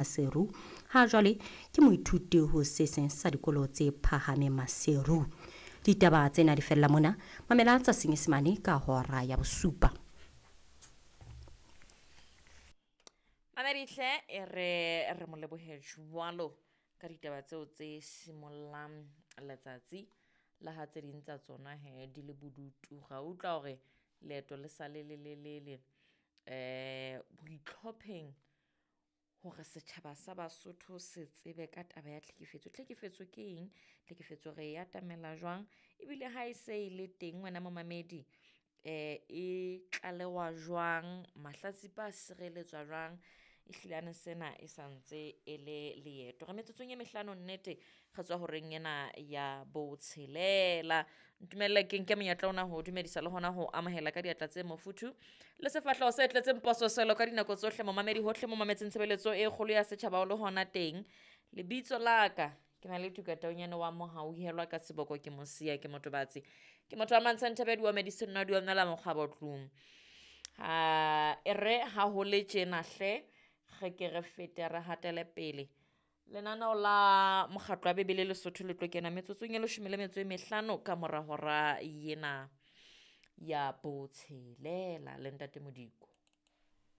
Maseru. Ha jwale ke moithuti ho se seng sa dikolo tse phahameng Maseru. Ditaba tsena di fella mona. Mamela tsa Senyesemane ka hora ya bosupa. Mamedihle e re re mo lebohe jwalo ka ditaba tseo tse simollang letsatsi la ha tse ding tsa tsona he di le bodutu. Ra utlwa hore leeto le sa le lelelele boitlhopheng hore setjhaba sa Basotho se tsebe ka taba ya tlhekefetso. Tlhekefetso ke eng? Tlhekefetso re e atamela jwang? Ebile ha e se e le teng wena momamedi e tlalewa jwang? Mahlatsipa a sireletswa jwang? Ehlilane sena e santse e le leeto. Re metsotsong e mehlano nnete re tswa horeng ena ya botshelela. Ntumelle ke nke monyetla ona ho dumedisa le hona ho amohela ka diatla tse mofuthu le sefahleho se tletseng pososelo ka dinako tsohle momamedi hohle mo mametseng tshebeletso e kgolo ya setjhaba o le hona teng. Lebitso la ka ke na le Tuka Taunyane wa Mohauhelwa ka seboko ke Mosia ke Motobatsi. Ke motho wa Mantsha Nthebe di medicine nwa di omela mokgwabo tlung. Ha e re ha ho le tjena hle re ke re fete re hatele pele. Lenaneo la mokgatlo wa Bebele Lesotho le tlo kena metsotsong e leshome le metso e mehlano ka mora hora ena ya botshelela le ntate Modiko.